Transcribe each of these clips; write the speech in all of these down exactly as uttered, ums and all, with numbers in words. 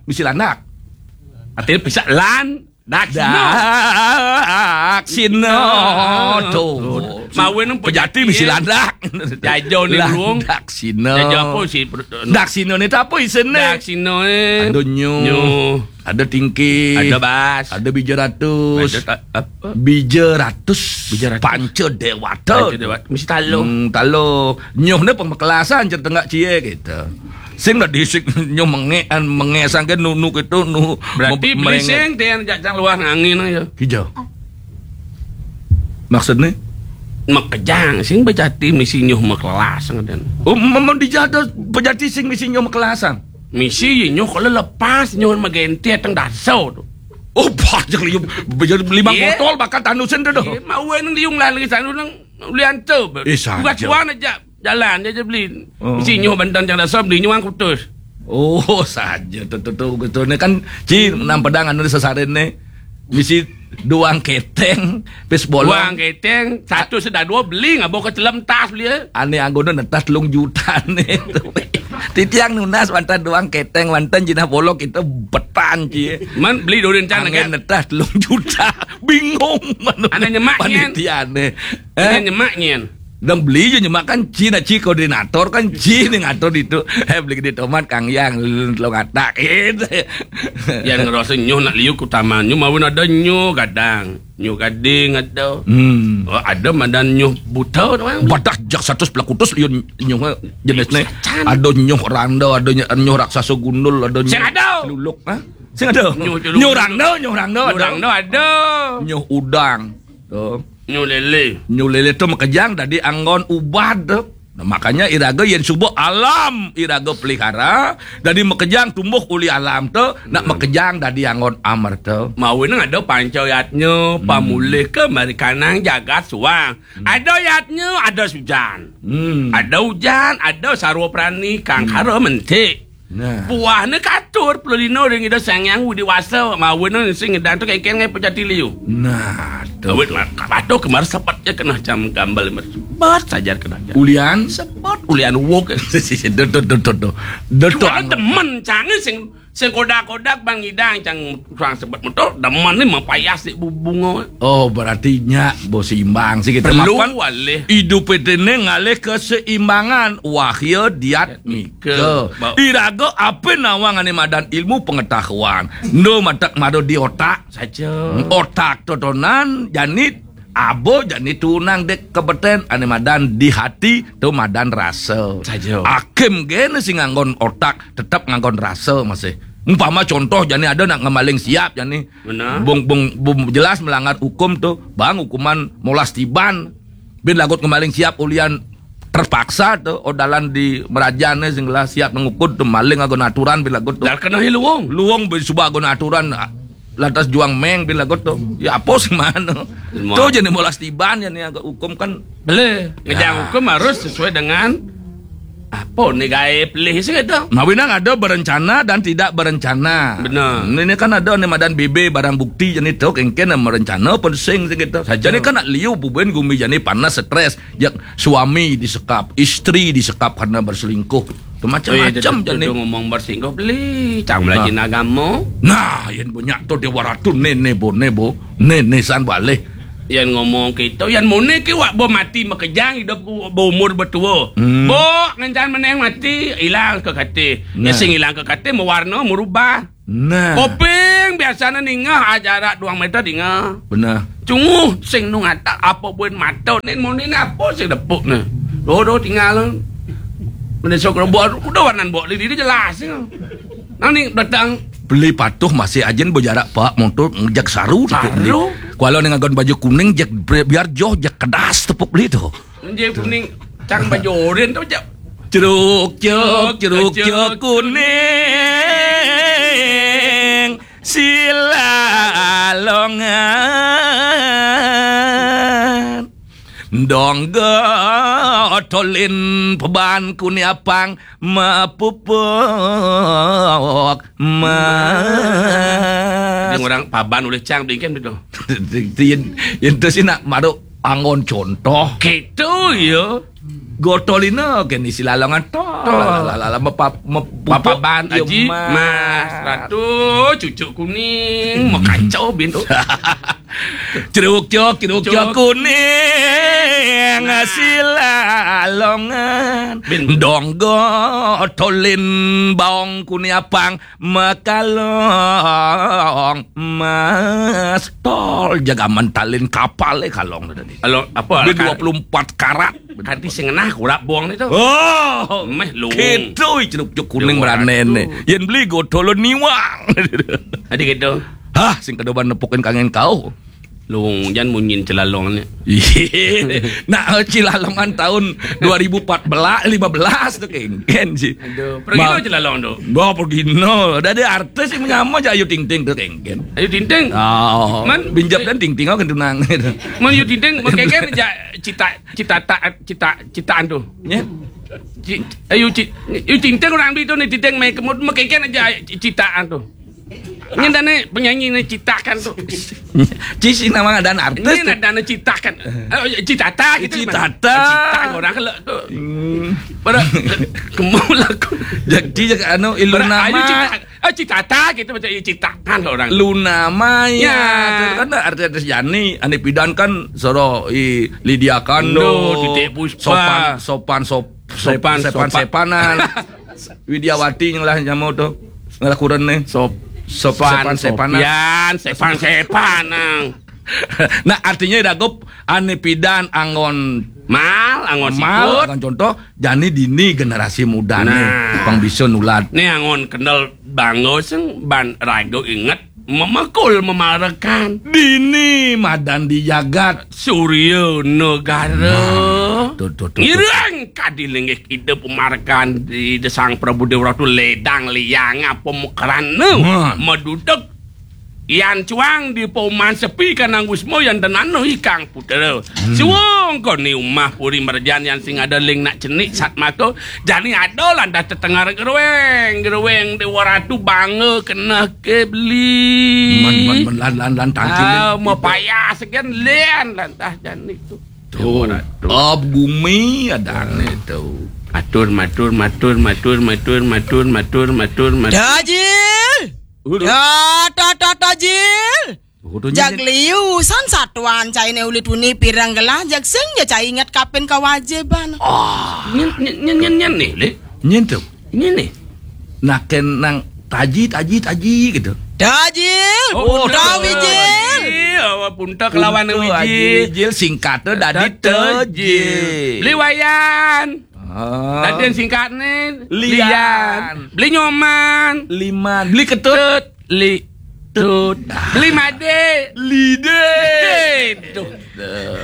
misi landak. Artinya bisa lan daksina. Daksina. Tuh. Mawe nang pejati misi landak. Jajo ni burung. Daksina. Jajo apa sih? Daksina ni apa isine? Daksina ni. Ada nyuh. Nyuh. Ada tingkih. Ada bas. Ada bija ratus. Ada ta-, apa? Bija ratus. Bija ratus. Panca dewata. Panca dewata. Mesti talo. Hmm, talo. Nyuh ni pemekelasan cerita ngak cie gitu. Sing dah disik nyuh mengek, an mengek sangke nunu gitu, nu. Berarti beli sing tian jak cang luar angin aja. Hijau. Maksudnya? Makejang sing bejati misi nyuh mekelas ngadan. Oh, memang dijada bejati sing misi nyuh mekelasan. Misi nyuh kalau lepas nyuh magenti ateng daso tu. Oh, banyak liu. Bejati lima botol bakal tanusen tu doh. Iya, mau nang liung lah lagi sanu nang lian tu. Eh, bukan saja. Tuan aja. Jalan aja beli. Oh. Misi nyuh bantan cang daso beli nyuang kutus. Oh, saja tu tu tu gitu. Ni kan ci nang pedang anu sesaren ni. Misi duang keteng, pis bolong. Duang keteng, satu sedah dua beli ngabo ke celem tas beli. Ane anggona netas telung juta ni tu. Titiang nunas wantan duang keteng, wantan jinah bolong kita betan ci. Man beli dorin can angin netas telung juta. Bingung mana. Ane nyemak nyen. Panitia ni. Ane nyemak nyen. Dong beli je nyemak kan ci na ci koordinator kan ci ni ngatur ditu. Eh, beli gede tomat Kang Yang lo ngatak gitu. Yang ngerasa nyuh nak liu ku taman nyuh mawin ada nyuh gadang, nyuh gading ada. Hmm. Oh, ada madan nyuh buta tu kan. Badah jak satu sebelah kutus liu nyuh jenis ni. Ada nyuh randa, ada nyuh raksasa gundul, ada nyuh celuluk, ha? Sing ada. Nyuh celuluk. Nyuh randa, nyuh randa ada. Nyuh randa ada. Nyuh udang. Tu. Nyuh lele. Nyuh lele tu makejang dadi anggon ubat tu. Nah, makanya iraga yen suba alam iraga pelihara, dadi makejang tumbuh uli alam tu, nak makejang dadi anggon amerta. Mawin ada panca yatnya, pamulih ke marikanang jagat suang. Ada yatnya, ada sujan. Hmm. Ada ujan, ada sarwa prani, kang kara mentik. Nah. Buahne katur pelulina ring Ida Sang Hyang Widi Wasa, mawina sing ngedan tu kengkeng ngai pejati liu. Nah, tu. Awit lah, kabatuh kemar sepet je kenah cam gambel, sepet saja kenah cam. Ulian? Sepet ulian wuk. Duh, duh, duh, duh, duh. Duh, duh, cuma ang- demen cange sing, sing kodak-kodak bang ngidang cang kurang sepet motor, demen ni mapayas di bu-, bunga. Oh, berarti nya bo seimbang sih kita. Perlu mapan walih. Idup ini ngalih keseimbangan, wahya diat Ke. Ke. Ba- Iraga apa nawang ane madan ilmu pengetahuan. Ndo matak mado di otak. Saja. Otak totonan jani abo jani tunang dek kebeten ane madan di hati tu madan rasa. Saja. Hakim gene sing nganggon otak tetap nganggon rasa masih. Umpama contoh jani ada nak ngemaling siap jani. Benar. Bung, bung, bung jelas melanggar hukum tu. Bang hukuman molas tiban. Bin lagut ngemaling siap ulian terpaksa tu, odalan di merajane sing lah siap ngukud tu maling agon aturan bila got tu. Dah kena hi luwung. Luwung bin suba agon aturan, ah, lantas juang meng bila got tu. Ya apa sing mana? Semua. Tu jadi molas tiban jadi agak hukum kan. Boleh. Ya. Ngejang hukum harus sesuai dengan apa ni gaib lih sih gitu. Mawinang ada berencana dan tidak berencana. Benar. Ini kan ada ni madan B B barang bukti jadi tu kengken merencana pun sing sih gitu. Saja. Jadi kan nak liu bubuin gumi jadi panas stres. Jak suami disekap, istri disekap karena berselingkuh. Tu macam-macam jani. Ngomong berselingkuh beli, cang belajar agama. Nah, yang banyak tu dewa ratu nene bo nebo, nene san baleh. Yang ngomong kita, yang mune ke wak bo mati makejang hidup bo umur betua. Hmm. Bo ngencan meneng mati, hilang ke kate. Nah. Sing hilang ke kate mewarna merubah. Nah. Koping biasane ningah ajarak duang meter dingah. Benar. Cunguh sing nung atak apa buin mata ni muni ni apa sing depuk ni. Doh doh tinggal. Mene sok rebut udah warnan bok lidi jelas ni. Nang ni datang beli patuh masih ajin berjarak pak motor ngejak saru depuk ni. Saru. Kuala ni ngagon baju kuning jak bre-, biar joh jak kedas tepuk beli tu. Nje kuning cang baju oren tu jak. Ceruk cek, ceruk cek kuning sila longan. Dongga tolin peban kuni apang mapupuk ma. Yang orang paban oleh cang bingkin betul. Yen, yen tu sih nak maruk angon contoh. Gitu ya. Gotolina kén isi lalongan tol. Tol. Lah, lah, lah, lah, mepap-, mepupuk, Papaban, ya, Aji, Mas. Mas Ratu, cucuk kuning, makancau bintu. Ceruk cok, ceruk cok. Cok. Kuning, nah, isi lalongan. Bin. Dong gotolin baong kuning apang. Makalong, Mas Tol, jaga mentalin kapal, eh, kalong tadi. Kalau apa, B dua puluh empat karat. Kan-, kanti sing ngenah kurap bong itu. Oh, meh lung. Gitu, ceruk cok kuning. Dua ratus. Meranen nih. Yén beli gotolon niwang. Adi gitu. Hah, sing kedoban nepukin kangen kau. Lung, jan munyin Cilalong ni. Nah, Cilalongan tahun dua ribu empat belas, lima belas tu kéngkén sih. Aduh, pergi Ma-, tu Cilalong tu. Bah, pergi no. Dah ada artis yang menyama aja Ayu Ting Ting tu kéngkén. Ayu Ting Ting? Oh, man, binjap dan Ting Ting, oh, kan tunang. Man Ayu Ting Ting, kéngkén aja cita, cita, ta-, cita, citaan tu. Ya. Ci-, Ayu Ci-, Ayu Ting Ting orang beli tu ni, Ting Ting main kemud, kéngkén aja citaan tu. Ini dah ni penyanyi ni citakan tu. Ci si nama dan artis. Ini tu. Ada ni citakan. Eh, citata gitu. Citata. Citakan orang kalau tu. Hmm. Pada kemul aku. Jadi, anu, Iluna Maya. Citata gitu macam citakan orang. Luna Maya. Ya. Tu kan artis-artis Jani, Ani Pidan kan soro i Lydia Kandou, Kandou, Titik Puspa. Sopan, sopan, sop-, Sopan, sepan, sopan. Sepanan. Widiawati yang lah nyamuk tu. Ngalah kurang ni. Sop-, Sop-, sepan, sepan, sepanan. Sopian, sepan, sepanan. Nah, artinya dagup Ani Pidan anggon mal, anggon mal, sikut. Anggon contoh, jani dini generasi muda ni. Nah. Pang bisa nulad. Ni anggon kendel bangga sing ban raga inget memekul memarekan. Dini madan di jagat. Surya Negara. Nah, tu, tu, tu, tu. Ngirang kadi linggih kita pemarekan di Desang Prabu Dewa Ratu ledang liang apa mukerana. Nah. Madudeg. Yan cuang di Pauman Sepi kanang Wisma yan tenana ikang putra. Hmm. Suwung koni umah puri merjan yan sing ada ling nak cenik satmaka. Jani ada lantas tetengar geruweng, geruweng Dewa Ratu bangga keneh ke beli. Man, man, man, lan, lan, lan, tangkil, ah, lan, mapayah sekian lan, lantas jani tu. Tu, tu. Ab gumi adane tu. Matur, matur, matur. Tajil! Udah. Ya, ta, ta, Tajil! Kudu nyindir. Jag liu san satuan cainé uli tuni pireng gelah, jag sing ja cai inget kapin kawajiban. Ah. Nyen, nyen, nyen, nyen, nyen nih, Li. Nyen tu. Ini nih. Naken nang taji, taji, taji gitu. Tajil, oh, punta, punta, Wijil. Wijil. Awak punta kelawan Punta, Wijil. Aji Wijil, singkatnya dadi Tejil. Tejil. Beli Wayan. Ah. Tadi yang singkatnya Lian. Lian. Beli Nyoman. Liman. Beli Ketut. Tut. Li. Tut. Beli Made. Lide. Tuh.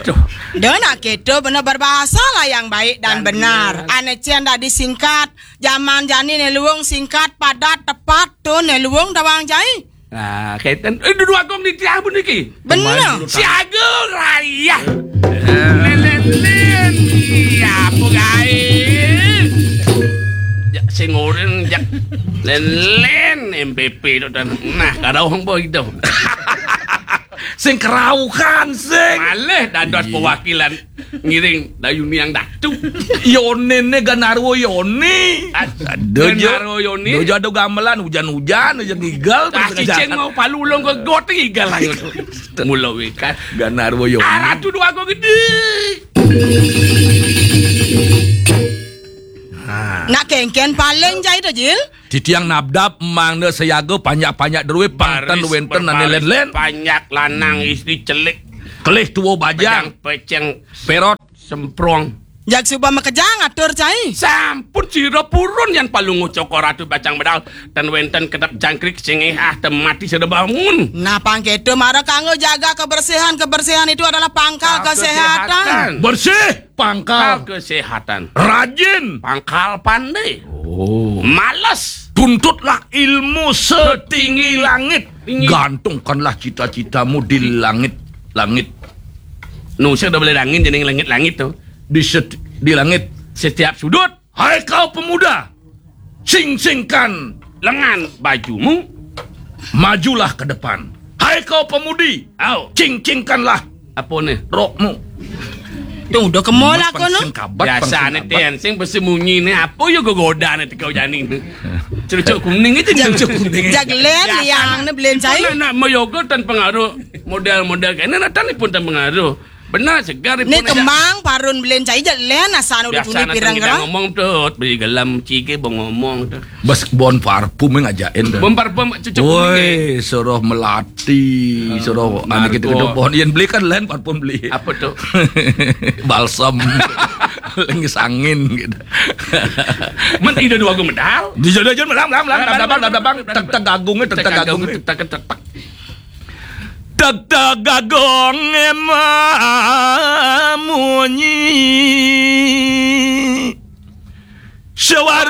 Tuh. Dah nak kita benar berbahasa lah yang baik dan benar. Ane cian dah disingkat. Zaman jani ne luung singkat, padat, tepat tu ne luung tawang jai. Nah, kaitan, eh, duduk agung di tiang pun niki. Bener. Siaga raya. Lin, lin, lin. Ya, apa gaé? Jak sing oren, jak lin, lin, M P P tu dan. Nah, kada orang boy tu. Sing keraukan, sing. Malih dados perwakilan ngiring dayuni yang datu. Yonine Ganarwa Yoni. Ad-, Aduh, Jo. Ganarwa Yoni. Duh, Jo, ada gamelan hujan-hujan, hujan ngigal, ah, terus cicing jalan. Mau palu ulung ke got, ngigal ayo tu. Mula wikan. Ganarwa Yoni. Ah, Ratu Dwaga Gedé. Ha. Nak kéngkén paling jai tu, Jil? Titiang nabdab mangda sayaga panjak-panjak drué pang ten wénten ané lén-lén. Panjak lanang istri celik. Kelih tua bajang. Bajang peceng. Pérot. Semprong. Jag suba makejang atur cai. Sampun sira purun yan palungguh Cokor Ratu Bajang Medal. Ten wénten kedep jangkrik sing éhah ten mati sada bangun. Nah, pang kéto mara kanggo jaga kebersihan. Kebersihan itu adalah pangkal kesehatan. Bersih. Pangkal. Pangkal kesehatan. Rajin. Pangkal pandai. Oh. Males. Tuntutlah ilmu setinggi langit. Tinggi. Gantungkanlah cita-citamu di langit-langit. Nu, saya udah boleh langit, jadi langit-langit tu. Di set-, di langit. Setiap sudut. Hai kau pemuda, cincingkan lengan bajumu, majulah ke depan. Hai kau pemudi, au, cincingkanlah apa ni? Rokmu. Tuh, udah ke mall aku, no. Biasane ten sing mesti munyi ne apa ya gegodane teko jani ne. Cucuk kuning itu. Cucuk kuning. Jak len yang ne belen cai. Nak mayoga tan pengaruh model-model kene natan pun tan pengaruh. Benar segar. Ne kemang parun belen cai jak len asal udah kuning pirang kita ngomong tuh beli gelam cike bengomong tuh. Bas bon parfum yang ngajakin tuh. Bon parfum cucuk kuning. Woi, suruh melati, suruh anak kita kita bon yang beli kan len parfum beli. Apa tuh? Balsam. Lengis angin gitu. Men ida dua gue medal. Di jodoh jodoh melang melang melang melang melang melang tek tek gagungnya tek tek gagungnya. Tek tek tek. Tek tek gagungnya munyi. Suara